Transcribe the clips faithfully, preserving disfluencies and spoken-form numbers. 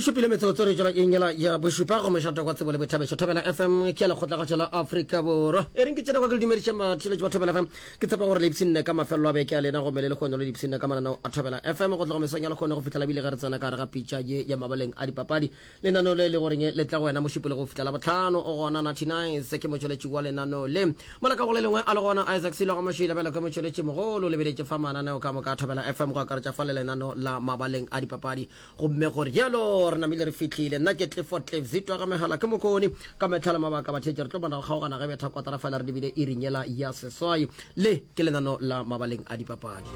E šupile metsotso re tšwela eng yela ya bošupa go mošate kwa tsebo le boithabišo Thobela F M ke ya lekgotlakgatšo la Afrika Borwa. E reng ke tsena kwa ke le dumediše batheeletši ba Thobela F M. Ke tshepa gore le ipshinne ka mafelelo a beke a lena gomme le lehono le ipshinne ka mananeo a Thobela F M go tloga mesong ya lehono go fihlela bile ge re tsena ka gare ga pitša ye ya mabaleng a dipapadi. Lenaneo le le goreng le tla go wena mošupologo go fihla Labohlano o gona Natty Nice ke motšweletši wa lenaneo le. Mola ka go le lengwe a le gona Isaac Silo ga Mošila bjalo ka motšweletši mogolo o lebeletše fa mananeo ka moka a Thobela F M go akaretša fa le lenaneo la mabaleng a dipapadi. Gomme go rialo re namile re fihlile. Nna ke Clifford Cliff Zitwa ga Megala ke Mokone. Ka mehla le mabaka batheetši re tlo bona go kgaogana ge betha kotara fela re lebile iring yela ya seswai. Le ke lenano la mabaleng a dipapadi.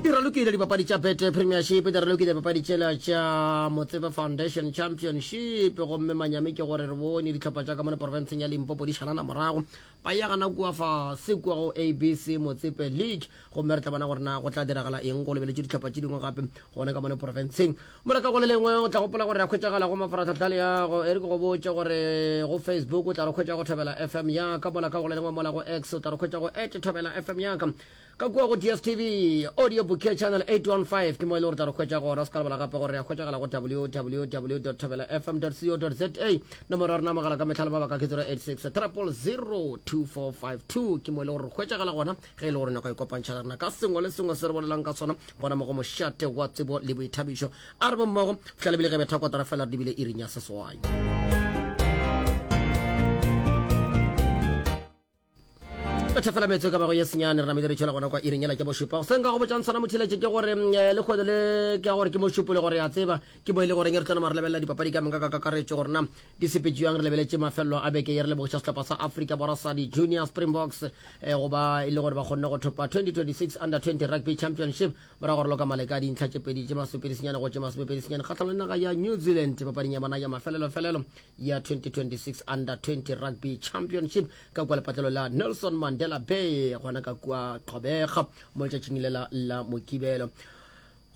Di ralokile dipapadi tša Betway Premiership, di ralokile dipapadi tšela tša Motsepe Foundation Championship, gomme manyami ke gore re bone dihlopha tša ka mone porofenseng ya Limpopo di šalana morago. Ba ya gana kua fase kua go A B C Motsepe League, gomme re tla bona gore na go tla diragala eng go lebeletšwe dihlopha tše dingwe gape gona ka mone porofenseng. Mola ka go le lengwe o tla gopola gore re a hwetšagala go mafaratlhatlha le yago. E re ke go botše gore go Facebook o tla re hwetša go Thobela F M ya ka, mola ka go le lengwe mola go X o tla re hwetša go at Thobela F M ya ka. Ka kua go D S T V Audio Bouquet Channel eight one five ke mo e le gore tla re hwetša gona. O se ka lebala gape gore re a hwetšagala go W W W dot thobela F M dot co dot za. Nomoro ya rena mogala ka mehla le mabaka ke zero eight six triple zero two four five two, ke mo e le gore re hwetšagala gona ge e le gore nyaka ikopantšha le rena ka sengwe le sengwe se re bolelang ka sona gona mo go mošate wa tsebo le boithabišo. A re bommogo fihla lebile ge betha kotara fela re dibile iring ya seswai. Betha fela metso ka bago ye senyane re namile re tšwela gona kwa iring yela ke bošupa. Se nka go botšang sona motheletše ke gore mm, eh, lekgono le ke gore ke mošupo le gore ya tseba ke mo e le goreng re tlo nama re lebelela dipapadi ka moka ka kakaretšo gore na di sepetše bjang. Re lebeletše mafelelo a beke ye, re lebogiša sehlopha sa Afrika Borwa sa di-Junior Springboks eh, go ba e le gore ba kgonne go thopa twenty twenty-six Under twenty Rugby Championship morago gore loka maleka a dintlha tše pedi tše masomepedi senyane go tše masomepedi senyane kgatlhanong le naga ya New Zealand papading ya bona ya mafelelofelelo ya twenty twenty-six Under twenty Rugby Championship ka kua lepatlelo la Nelson Mandela Bay gona ka kua Gqeberha mo letšatšing lela la Mokibelo.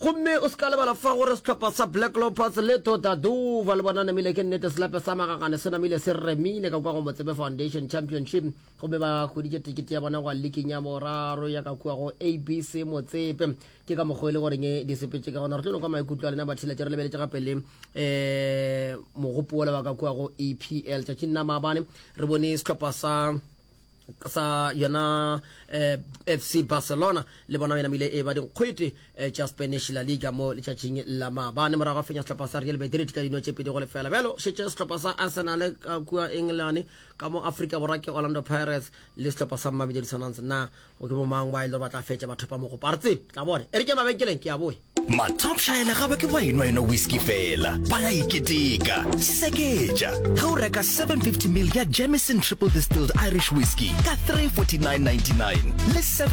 Gomme o se ka lebala fa gore sehlopha sa Black Leopards le Totadova le bona namile ke nnete selepe sa magagane se namile se remile ka kua go Motsepe Foundation Championship, gomme ba hweditše tekete ya bona go liking ya boraro ya ka kua go A B C Motsepe. Ke ka mokgwa e le goreng di sepetše ka gona. Re tlo no kwa maikutlo a lena batheeletše. Re lebeletše gape le um mogopo wola wa ka kua go E P L. Tšatšing la maabane re bone sehlopha sa sa yona eh, F C Barcelona le bona ba namile e ba dinkgwete eh, tša Spanish La Liga mo letšatšing la maabane morago ga fenya sehlopha sa Real Madrid ka dino tše pedi go lefela. Bjalo šetše sehlopha sa Arsenal ka kua England, ka mo Afrika Borwa ke Orlando Pirates le sehlopha sa Mamelodi Sundowns. Na go ke bomang ba e le gore ba tla fetša batho ba mogopa? Re tsebe, tla bone. E re ke mabenkeleng ke a boe. Matopšhaela ga ba ke ba enwa enwa whisky fela, ba ya iketeka. Seketša ge o reka seven fifty mil ya Jameson Triple Distilled Irish Whiskey ka three forty-nine ninety-nine le seven